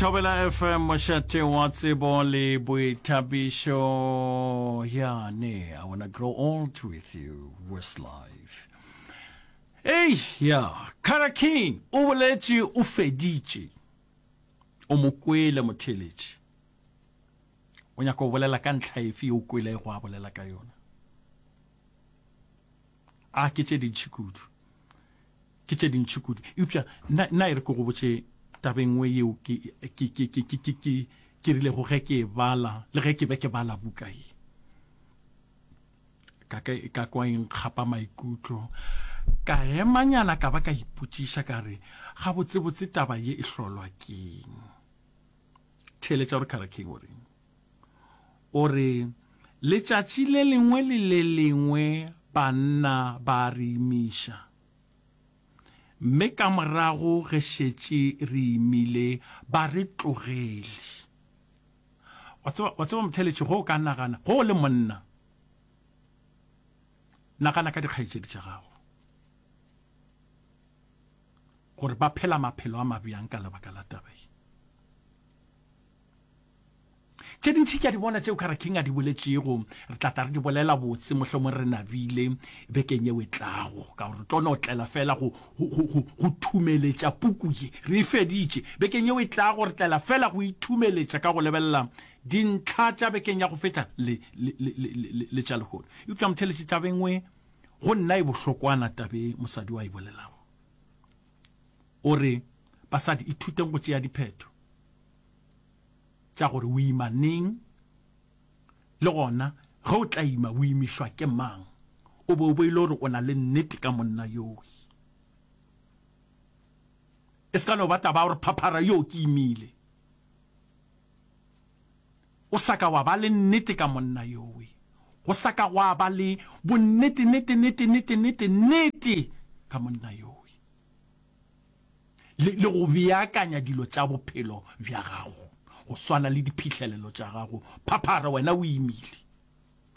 Thobela FM mošate wa tsebo le boithabišo ya ne I wanna grow old with you Westlife Ei ya Kara King o boletše o feditše o mo kwele motheeletši o nyaka go bolela ka ntlha efe ye o kwelego a bolela ka yona a ke tše dintši kudu Ke tše dintši kudu. Eupša nna, nna e re ke go botše taba e nngwe yeo ke, ke, ke, ke, ke, ke, ke, ke rilego ge ke e bala, le ge ke be ke bala buka ye. Ka, ka, ka kwa e nkgapa maikutlo. Ka emanyana ka ba ka ipotšiša ka re, Gabotsebotse taba ye e hlolwa keng? Theeletša gore Kara King o reng. O re, Letšatši le lengwe le le lengwe banna ba re imiša. Mme ka morago ge šetše re imile ba re tlogele. Wa tseba, wa tseba motheeletši, ge o ka nagana, ge o le monna, nagana ka dikgaetšedi tša gago, gore ba phela maphelo a mabjang ka lebaka la taba ye. Tše dintši ke a di bona tšeo Kara King a di boletšego. Re tla tla re di bolela botse mohlomong re nabile bekeng yeo e tlago, ka gore re tlo no tlela fela go, go, go, go, go thumeletša puku ye. Re e feditše. Bekeng yeo e tlago re tlela fela go ithumeletša ka go lebelela dintlha tša bekeng ya go feta le, le, le, le, le, le tša lehono. Eupša motheeletši, taba e nngwe go nna e bohlokwana taba e mosadi o a e bolelago. O re, Basadi, ithuteng go tšea diphetho. Tša gore o ima neng, le gona ge o tla ima o imišwa ke mang, o be o bo e le gore o na le nnete ka monna yowe. E se ka no ba taba ya gore phaphara yo ke imile. O sa ka wa ba le nnete ka monna yowe. Go sa ka gwa ba le bonnete nete nete nete nete nete ka monna yowe. le, le go beakanya dilo tša bophelo bja gago, go swana le diphihlelelo tša gago. Phaphara, wena o imile.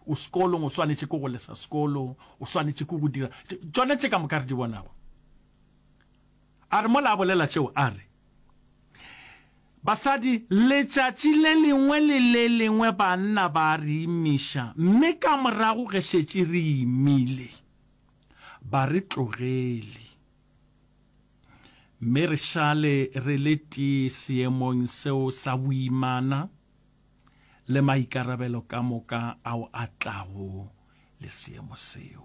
O sekolong, o swanetše ke go lesa sekolo, o swanetše ke go dira tšona tše ka moka re di bonago. A re mola a bolela tšeo, a re, Basadi, letšatši le lengwe le le lengwe banna ba re imiša, mme ka morago ge šetše re imile, ba re tlogele. Mme re šale re le tee seemong seo sa boimana le maikarabelo ka moka ao a tlago le seemo seo.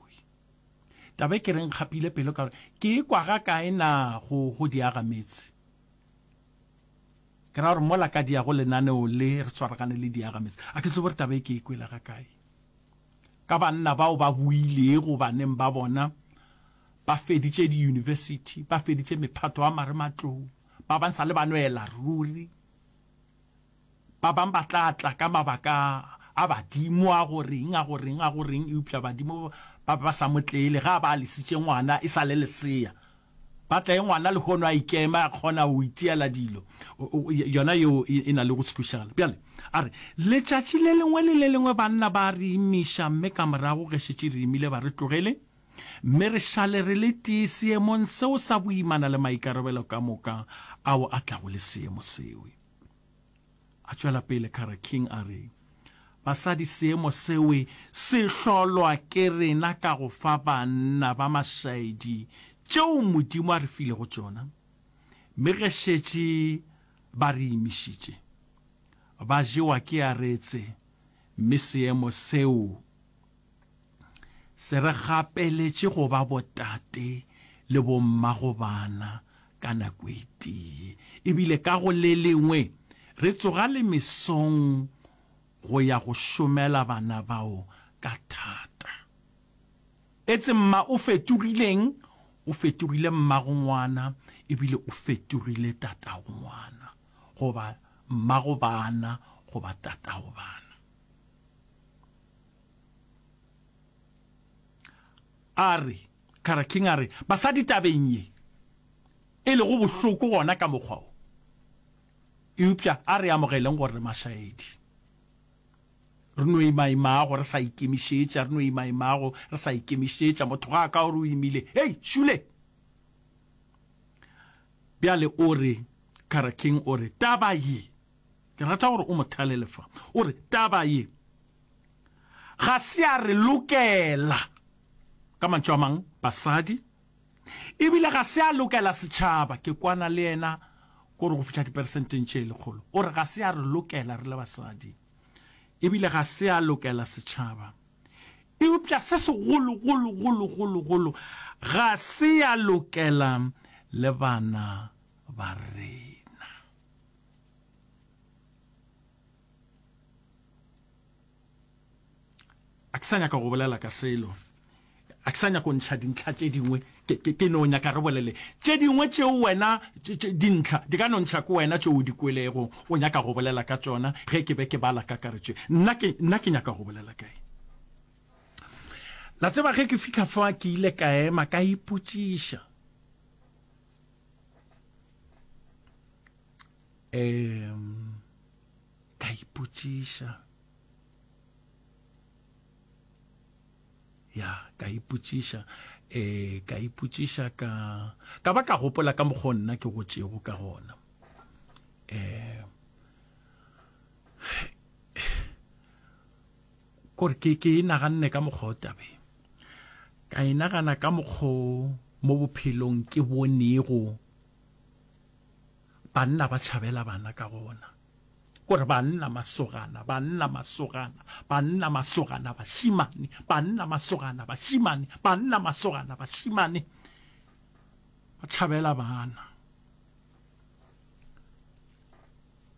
Taba e ke reng kgapile pelo ka gore ke e kwa ga kae na go go diagametse. Ke ra gore mola ka diago lenaneo le re tshwaragane le diagametse. A ke tsebe gore taba e ke e kwele ga kae. Ka banna bao ba boilego baneng ba bona Ba feditše diyunibesithi, ba feditše mephato ya marematlou, ba bang sa le ba nwela ruri. Ba bang ba tla tla ka mabaka a badimo a go reng, a go reng, a go reng, eupša badimo ba be ba sa mo tlele ge a ba a lesitše ngwana e sa le lesea. Ba tla e ngwana lehono a ikema, a kgona go itiela dilo. Yona yeo e na le go tshwešagala. Bjale, a re, letšatši le lengwe le le lengwe banna ba re imiša, mme ka morago ge šetše re imile ba re tlogele. Mme re šale re le tee seemong seo sa boimana le maikarabelo ka moka ao a tlago le seemo seo. A tšwela pele Kara King a re, Basadi seemo seo se hlolwa ke rena ka go fa banna ba mašaedi tšeo Modimo a re filego tšona, mme ge šetše ba re imišitše, ba jewa ke aretse, mme seemo seo Se re gapeletše go ba botate le bommagobana ka nako e tee, e bile ka go le lengwe re tsoga le mesong go ya go šomela bana bao ka thata. Etse mma o fetogileng? O fetogile mmagongwana e bile o fetogile tatagongwana goba mmagobana goba tatagobana. A re, Kara King a re, basadi tabeng ye, e lego bohloko gona ka mokgwa wo, eupša a re amogeleng gore re mašaedi. Re no imaimago re sa ikemišetša, re no imaimago re sa ikemišetša. Motho ga a ka gore o imile, hei, šule! Bjale o re. Kara King o re, Taba ye, ke rata gore o mo thalele fa, o re, taba ye ga se ya re lokela, ka mantšu a mang, basadi, ebile ga se ya lokela setšhaba. Ke kwana le yena kore go fihla diperesenteng tše lekgolo. O re ga se ya re lokela re le basadi, ebile ga se ya lokela setšhaba. Eupša se segologologologologolo, ga se ya lokela le bana ba rena. A ke sa nyaka go bolela ka selo. A ke sa nyaka go ntšha dintlha tše dingwe. Ke, ke, ke no nyaka re bolele tše dingwe tšeo wena, dintlha di ka no ntšha ke wena tšeo o di kwelego, o nyaka go bolela ka tšona ge ke be ke bala kakaretšo. Nna ke, nna ke nyaka go bolela kae? La tseba ge ke fihla fa ke ile ka ema ka ipotšiša. Um, ka ipotšiša. Ya, ka ipotšiša, eh, ka ipotšiša ka, ka ba ka gopola ka mokgwa nna ke gotšego ka gona. Eh, kore ke, ke e naganne ka mokgwa o tabeng. Ka e nagana ka mokgwa mo bophelong ke bonego banna ba tšhabela bana ka gona. Kore banna masogana, banna masogana, banna masogana bašimane, banna masogana bašimane, banna masogana bašimane ba tšhabela bana.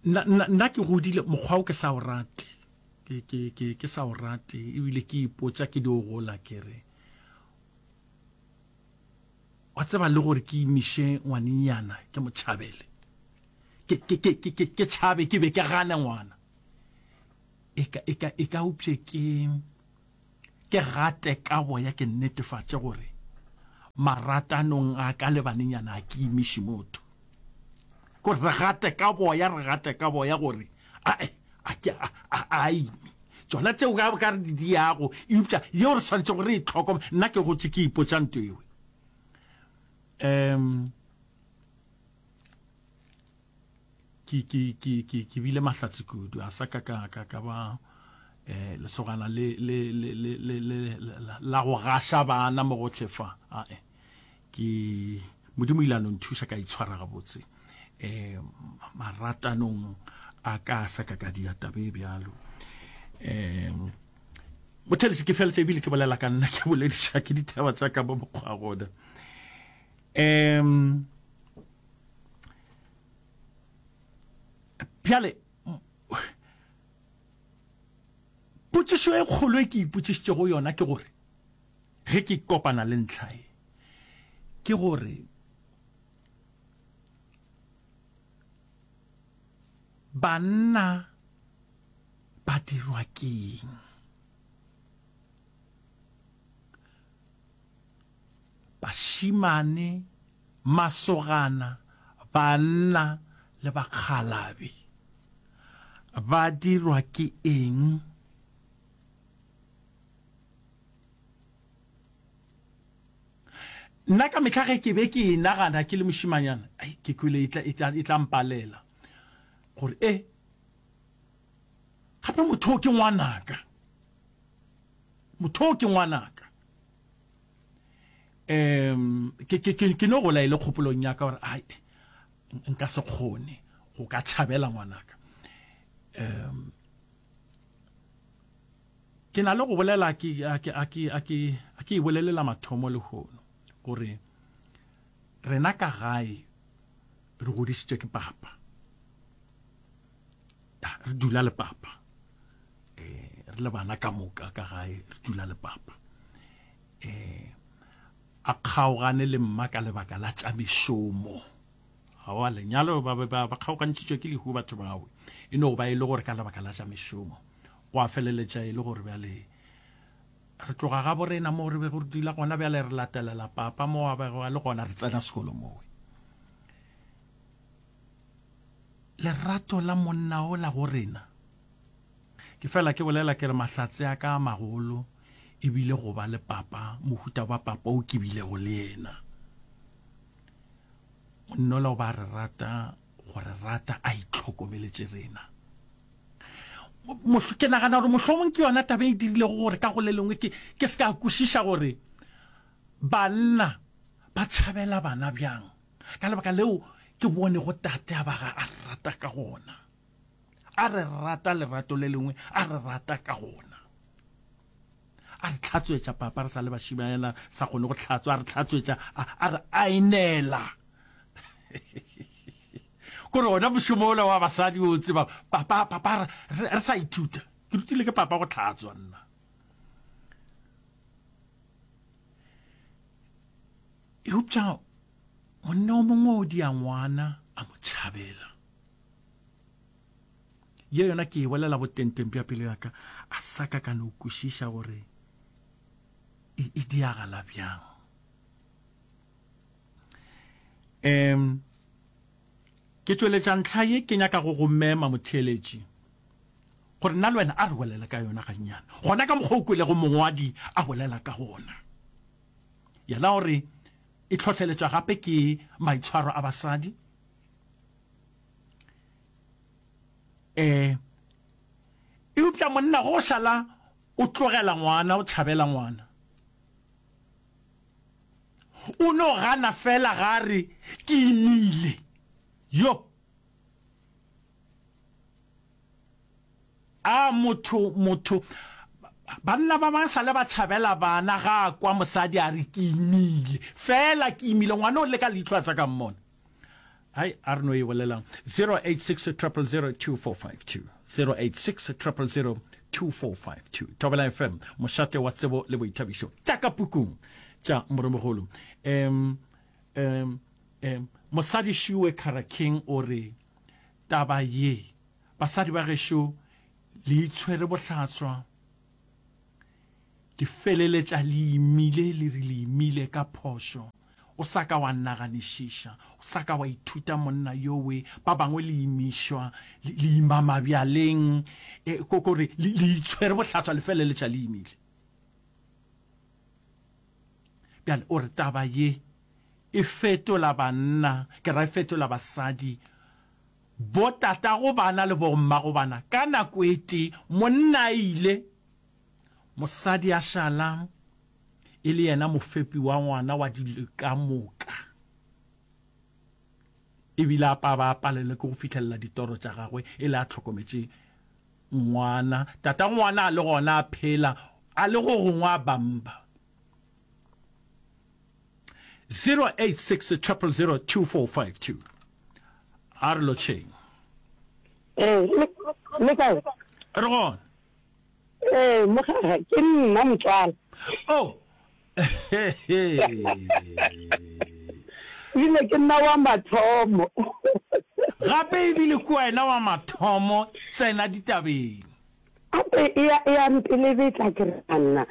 Nna, nna, nna ke godile mokgwa o ke sa o rate, ke, ke, ke, ke sa o rate, ebile ke ipotša ke dio gola ke re, wa tseba le gore ke imiše ngwanenyana ke mo tšhabele. Ke, ke, ke, ke, ke, ke tšhabe ke be ke gane ngwana. E ka, e ka, e ka upše ke, ke gate ka boya ke netefatše gore maratanong a ka le banenyana a ke imiše motho. Gore re gate ka boya, re gate ka boya gore ae, a ke, a, a, a ime. Tšona tšeo ka, ka re di diago, eupša yeo re swanetše gore re e tlhokome. Nna ke gotše ke ipotša nto ewe. Um, ke ke ke ke ke bile mahlatse kudu a sa ka ka ka ka ba eh lesogana le le le le le le la go gaša bana mo gohle fa a e ke modimo ile a no nthuša ka itshwara gabotse eh maratanong a ka sa ka ka dia tabe bjalo eh motheletši ke feletša ebile ke bolela ka nna ke bolediša ke ditaba tša ka mo mokgwa gona um Bjale, potšišo e kgolo e ke ipotšišitšego yona ke gore, ge ke kopana le ntlha e, ke gore banna ba dirwa keng? Bašemane Masogana, banna le bakgalabi ba dirwa ke eng? Nna ka mehla ge ke be ke e nagana ke le mošemanyana, ai, ke kwele e tla, e tla, e tla mpalela gore e gape motho o ke ngwanaka, motho o ke ngwanaka. Um ke, ke, ke, ke no gola e le kgopolong ya ka gore ai nka se kgone go ka tšhabela ngwanaka. Um ke na le go bolela ke a ke a ke a ke a ke e bolelela mathomo lehono gore rena ka gae re godišitšwe ke papa. Re dula le papa. Eh re le bana ka moka ka gae re dula le papa. Eh a kgaogane le mma ka lebaka la tša mešomo. Aowa, lenyalo ba be ba ba kgaogantšhitšwe ke lehu batho bao. E no ba e le gore ka lebaka la tša mešomo. Go a feleletša e le gore bjale re tloga ga borena mo re bego re dula gona bjale re latelela papa mo a bego a le gona re tsena sekolo mowe. Lerato la monna ola go rena Ke fela ke bolela ke re mahlatse a ka a magolo e bile go ba le papa, mohuta wa papa o ke bilego le yena. Monnola o ba re rata go re rata a itlhokomeletše rena. Ke nagana gore mohlomong ke yona taba e dirilego gore ka go le lengwe ke, ke se ka kwešiša gore banna ba tšhabela bana bjang. Ka lebaka leo ke bonego tate a ba ga a rata ka gona. A re rata lerato le lengwe, a re rata ka gona. A re tlhatswetša papa re sa le bašimanyana sa kgone go tlhatswa, a re tlhatswetša, a, a re aenela. Kore ona mošomo ola wa basadi o tseba, papa, papa re, re sa ithuta. Ke rutile ke papa go tlhatswa nna. Eupša monna o mongwe o dia ngwana a mo tšhabela. Ye yona ke e bolela botengteng bja pelo ya ka, a sa ka ka no kwešiša gore e, e diagala bjang. Um, ke tšweletša ntlha ye ke nyaka go go mema motheeletši gore nna le wena a re bolele ka yona gannyane gona ka mokgwa o kwelego mongwadi a bolela ka gona. Yena o re e hlohleletšwa gape ke maitshwaro a basadi. Eh, eupša monna go šala o tlogela ngwana, o tšhabela ngwana. O no gana fela ga re ke imile. Yo. A motho, motho, banna ba bang sale ba tšhabela bana ga a kwa mosadi a re ke imile. Fela ke imile, ngwana o leka leihlo a sa ka mmona. Hai, a re no e bolelang. 086 000 2452. 086 000 2452. Thobela FM, mošate wa tsebo le boithabišo. Tša ka pukung tša Moremogolo. Um, um, um, mosadi Šiwe Kara King o re, taba ye, basadi ba gešo le itshwere bohlatswa, le feleletša le imile, le re le imile ka phošo. O sa ka wa naganišiša, o sa ka wa ithuta monna yowe, ba bangwe le imišwa, le, le ima mabjaleng, e, ko, ko re, le, le itshwere bohlatswa le feleletša le imile. Bjale o re taba ye e fetola banna, ke ra e fetola basadi, bo tatago bana le bo mmago bana ka nako e tee, monna a ile, mosadi a šala e le yena mofepi wa ngwana wa dilo ka moka, e bile a pa ba a palelwe ke go fihlelela ditoro tša gagwe e le a hlokometše ngwana, tata ngwana a le gona a phela, a le go gongwe a bamba. 086 000 2452 A re lotšheng. Ee, le kae? Re gona. Ee, mogaka, ke nna motswala. Oh. Ebile ke nna wa mathomo. Gape ebile ke wena wa mathomo tsena ditabeng. Gape e ya e ya mpelebetla ke re nna.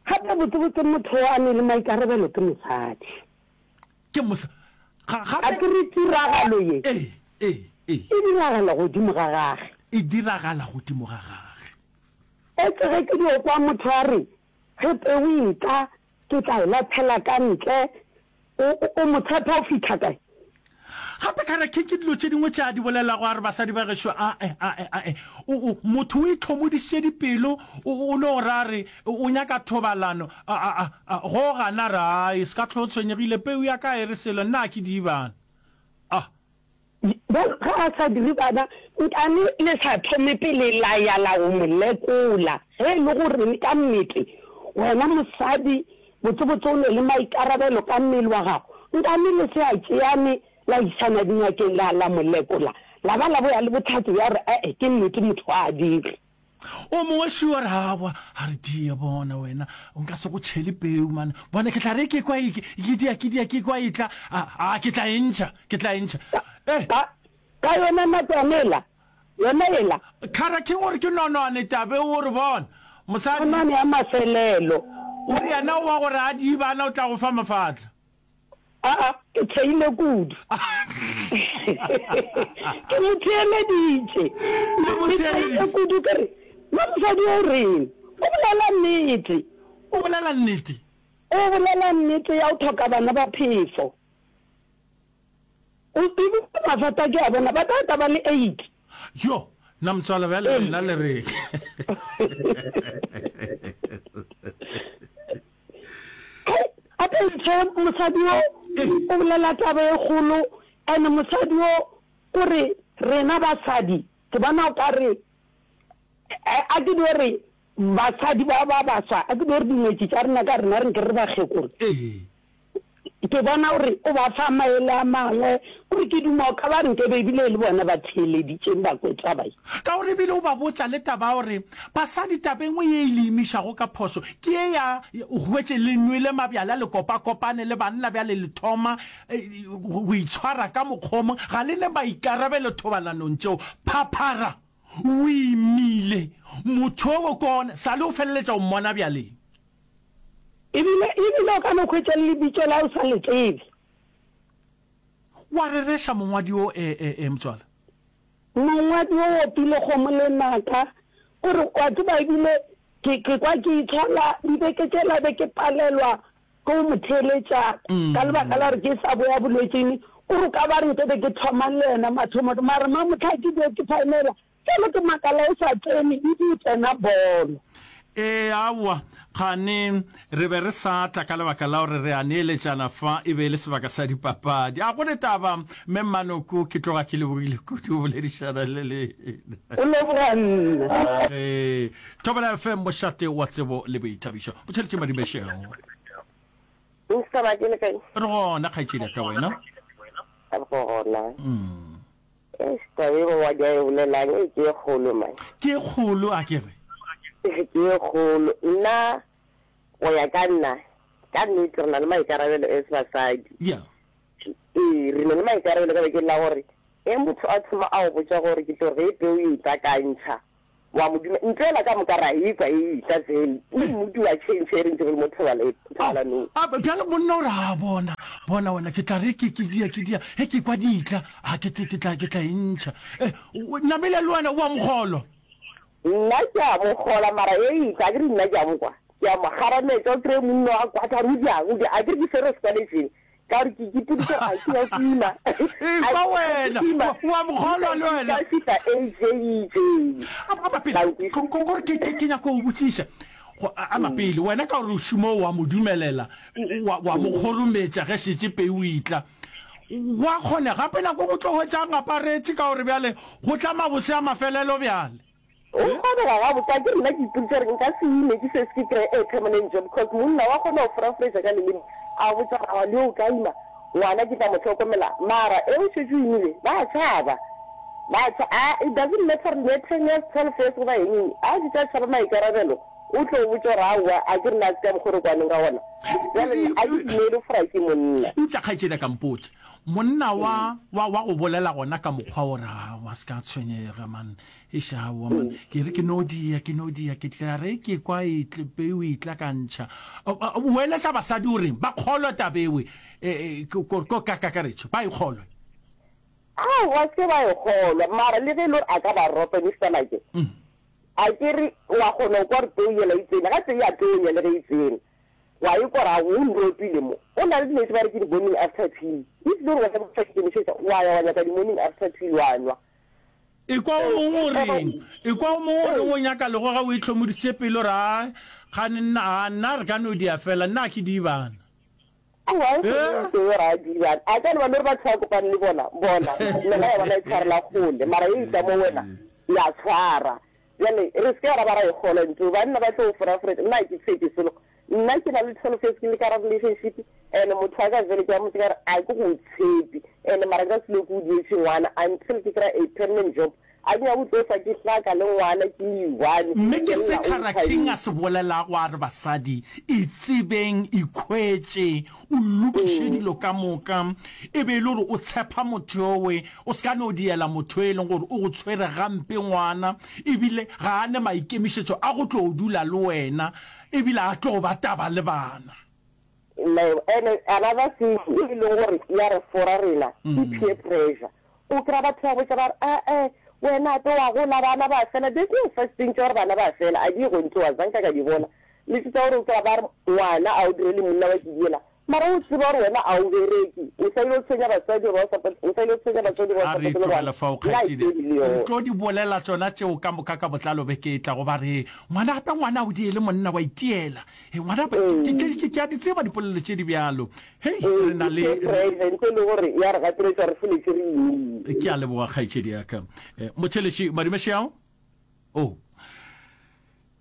Gape botsebotse motho a ne le maikarabelo ke mosadi. Ke mosa ga gape. A ke re tiragalo ye. Ee, ee, ee. E diragala godimo ga gage. E diragala godimo ga gage. Etse ge ke dio kwa motho a re, Ge peu e tla, ke tla e lathela ka ntle, o, o, o mo tshepa o fihla kae? Gape ka re, Ke, ke dilo tše dingwe tše a di bolelago, a re, Basadi ba gešo, ae, ae, ae. O, o, motho o itlhomodišitše dipelo, o, o no ra re o nyaka thobalano, a, a, a, a, go gana re, Ai, se ka hlwa o tshwenyegile, peu ya ka ga e re selo, nna ga ke die bana. Ah. Bjale ge a sa dire bana, nkane le sa thome pele la ya la go mo lekola, ge e le gore ka nnete wena mosadi botsebotse o ne le maikarabelo ka mmele wa gago, nkane le se a tšeane la išana dingakeng la, la mo lekola, la ba la boya le bohlatse bja gore ee ke nnete motho ga a dire. O mongwe sure a re, Aowa, a re, die bona wena, nka se go tšhele peu man. Bona ke tla re ke kwa e, ke dia, ke dia, ke kwa e tla, a, a, ke tla e ntšha, ke tla e ntšha. Eh! Ka, ka yona nakwana ela, yona ela. Kgara ke gore ke nonwane tabe o re bona, mosadi. Nonwane ya mafelelo. O re yena o wa gore a die bana o tla go fa mafatla. Aa, ke theile kudu. Ke mo theeleditše. Le mo Ke theile theeleditše. kudu ke re, na mosadi o reng? O bolela nnete. O bolela nnete. O bolela nnete ya go hloka bana ba phefo. O ebile mathata ke a bona ba tla tla ba le 8. Yo, na motswala bjale lena le re. Gape ntshe mosadi wo o bolela taba e kgolo and mosadi wo o re rena basadi ke bona o ka re a ke dio re basadi ba ba baswa a ke dio re dingwetši tša rena ka rena re nke re bakgekolo. Ke bona gore o ba fa maele a mangwe, gore ke duma o ka ba re nkebe ebile e le bona ba theeleditšeng ba kwe taba ye. Ka gore ebile o ba botša le taba ya gore basadi taba e nngwe ye e le imišago ka phošo ke ye ya o hwetše le nwele mabjala le kopakopane le banna bjale le thoma go itshwara ka mokgwa o mongwe ga le ne maikarabelo thobalanong tšeo. Phaphara o imile motho owe ke ona sa le o feleletša o mmona bjaleng. Ebile, ebile o ka no hwetša le lebitso la o sa le tsebe. Wa rereša mongwadi wo, e, e, e, motswala. Mongwadi wo opile kgomo lenaka, o re, wa tseba, ebile ke, ke kwa ke itshola dibeke tšela be ke palelwa ke go mo theeletša ka lebaka la gore ke sa boya bolwetšing. O re o ka ba re nke be ke thoma le yena mathomo, mara mamohla ke dio ke phaemela, Bjale ke makala o sa tsene ebile o tsena bolo. Ee, aowa, kgane re be re sa tla ka lebaka la gore re a neeletšana fa, e be e le sebaka sa dipapadi. A go ne taba, Mme Mmanoko, ke tloga ke lebogile kudu go boledišana le lena. O leboga nna. Ee, Thobela FM, mošate wa tsebo le boithabišo. Botšheletše Madibešego. Mister Maki le kae? Re gona, kgaetšedi ya ka, wena? Re gona. Eish, taba e mongwadi a e bolelang e ke e kgolo man. Ke e kgolo a ke re? Ke e kgolo. Nna go ya ka nna, ka nnete re na le maikarabelo as basadi. Yeah. Ee, re na le maikarabelo ka bakeng la gore ge motho a thoma a go botša gore ke tlo re ge peu e tla ka ntšha, wa mo duma. Ntho ela ka moka ra e kwa e etla fela, le mmuti wa change ge re ntše re le mo thobalanong. A bjale monna o re, A bona, bona wena, ke tla re ke, ke dia, ke dia, ge ke kwa di etla, a ke, ke tla, ke tla e ntšha. E, namile le wena o a mo kgolwa? Nna ke a mo kgolwa, mara e etla, akere nna ke a mo kwa, ke a mo kgarametša, o kry-e monna wa kwata, a re o diang, o diang, akere ke swere sekwaletšeng, Ka gore ke ipoditše gore a ke ya go ima. Ekwa wena, wa mo kgolwa le wena. Ka fihla age e itseng. Ama pele, gore ke ke nyaka go botšiša. Ama pele, wena ka gore o šoma wa mo dumelela, wa wa mo kgorometša ge šetše peu e tla. Wa kgone gape nako go tlo hwetša a ngaparetše ka gore bjale go tla mabose a mafelelo bjale. Go kgonega gabotse, akere nna ke ipoditše gore nka se ime ke se ke kry-e a permanent job cause monna wa kgona go forafretša ka leleme a go botša gore aowa le yo o ka ima ngwana ke tla mo hlokomela mara e o šetše o imile ba tšhaba ba tšha a it doesn't matter gore ne ten years 12 years goba eng eng a šetše a tšhaba maikarabelo o tlo go botša gore aowa akere nna a se ka mokgwa o re kwaneng ka gona bjale nna a ke dumele go fora ke monna. Eupša kgaetšedi a ka mpotša monna wa wa wa go bolela gona ka mokgwa o re aowa se ka tshwenyega man Eish aowa man, ke re ke no dia, ke no dia, ke tla re ke kwa e tle, peu e tla ka ntšha. O eletša basadi o reng? Ba kgolwe taba ewe, ko ka kakaretšo, ba e kgolwe? Aowa, se ba e kgolwa, mara le ge e le gore a ka ba ropa Mister Make, a ke re wa kgona go kwa gore peu yela e tsene, ga tse ya tonya le ge e tsene, wa e kwa gore aowa o nropile mo. O na le dilo tse ba re ke di-morning after pill, if e le gore wena o sa ikemišetša, wa ya wa nyaka di-morning after pill wa nwa. Ekwa o mongwe o reng? Ekwa o mongwe o reng o nyaka legoga o itlhomoditše pelo re a gane nna a nna re ka no dia fela nna a ke die bana. Aowa e seng ntho eo ra die bana. A ka no ba le gore batho ba kopane le bona bona nna ya bona e tshwarela kgole mara e etla mo wena ya tshwara. Bjale re se ke ra ba ra e kgolwa ntho eo banna ba tlo foraforetša nna ga ke tshepe selo Nna ke na le 12 years ke le ka gare relationship and motho wa ka jwale ke a mmotsa ka re a ke go tshepe and mara nka se loke o dietše ngwana until ke kry a permanent job a ke nyake go tlo hlwa ke hlaka le ngwana ke le one Mme ke se Cara King a se bolelago a re basadi itsebeng, ikhwetše, o lokiše dilo ka moka, e be e le gore o tshepa motho yowe, o se ka no diela motho e leng gore o go tshwere gampe ngwana, ebile ga a ne maikemišetšo a go tlo dula le wena, Ebile a tlo ba taba le bana. And another thing e leng gore ya re fora rena ke peer pressure. O kry-a batho ba botša ba re ae wena ape wa gola bana ba fela. There's no such thing tša gore bana ba fela a di ye go ntlowa zanka ka di bona. Le tše tša gore o kry-a ba re ngwana a o dire le monna wa kidiela. Mara o tseba gore wena a o bereke, o sa ile tshwenya batswadi goba o sa o sa ile tshwenya batswadi goba o A sa re patele tlogele bana, fao, nna a ke kgaetšedi. eme le Re yona. tlo di bolela tšona tšeo ka moka ka botlalo beke e tlago. Ba re, Ngwana gape ngwana o die le monna wa itiela. He, ngwana gape, ke, ke, ke, ke a di tseba dipolelo tše di bjalo. Hei, Ee, re na ke le, peer re. pressure, ntho e le gore ya re gapeletša re feletše re imile. Ke a leboga, kgaetšedi ya ka. Eh, Motheeletši, Madumešeao? Oh.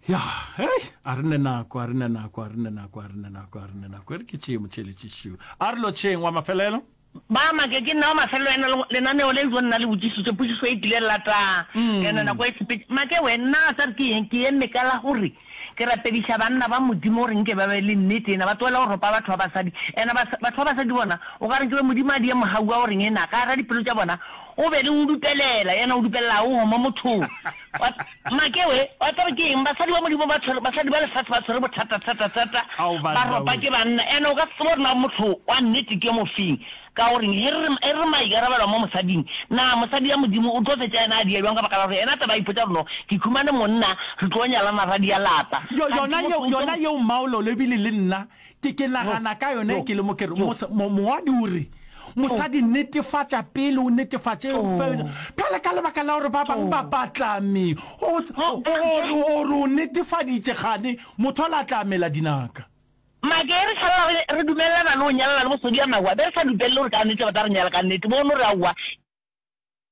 Ya, hei, a re ne nako, a re ne nako, a re ne nako, a re ne nako, a re ne nako. E re ke tšee motheeletši šiu. A re lotšheng, wa mafelelo. Ba make ke nna wa mafelelo ena lenaneo le jo nna le botšišitše potšišo e tlile lata ene nako e sepetše make we nna a sa re ke eng ke eme ka la gore ke rapediša banna ba modimo gore nke ba be le nnete ena ba tlohela go ropa batho ba basadi ena batho ba basadi bona o ka re nke be modimo a die mogau wa goreng ena ka gara dipelo tša bona o be le o dupelela yena o dupelela o homo mothong Wa, make we, wa tseba ke eng? Basadi ba Modimo ba tshwere, basadi ba lefase ba tshwere bothata thata thata, Ao ba banna ropa we. ke banna. And o ka se tsebe gore na motho wa nnete ke mofeng. Ka gore ge re, ge re maikarabelo mo mosading, na mosadi ya Modimo o tlo fetša yena a dia bjang ka baka la gore yena taba a ipotša gore no, ke khumane monna, re tlo nyalana ra dia lapa. Yo, Kganthe yona motho yeo, o tlo. yona yeo Mmaololo ebile le nna Ke, ke nagana ka yona ke le mo ke re, mos, mo, mongwadi o re, Mosadi netefatša pele o netefatše, bjale ka lebaka la gore ba bangwe ba patlame, o, o, o re, o re o netefaditše kgane motho ola tla mela dinaka. Make re šalela re, re dumelelana le go nyalana le bosodi ya mahu, a be re sa dupelele gore ka nnete ba tla re nyala ka nnete, bo no re aowa.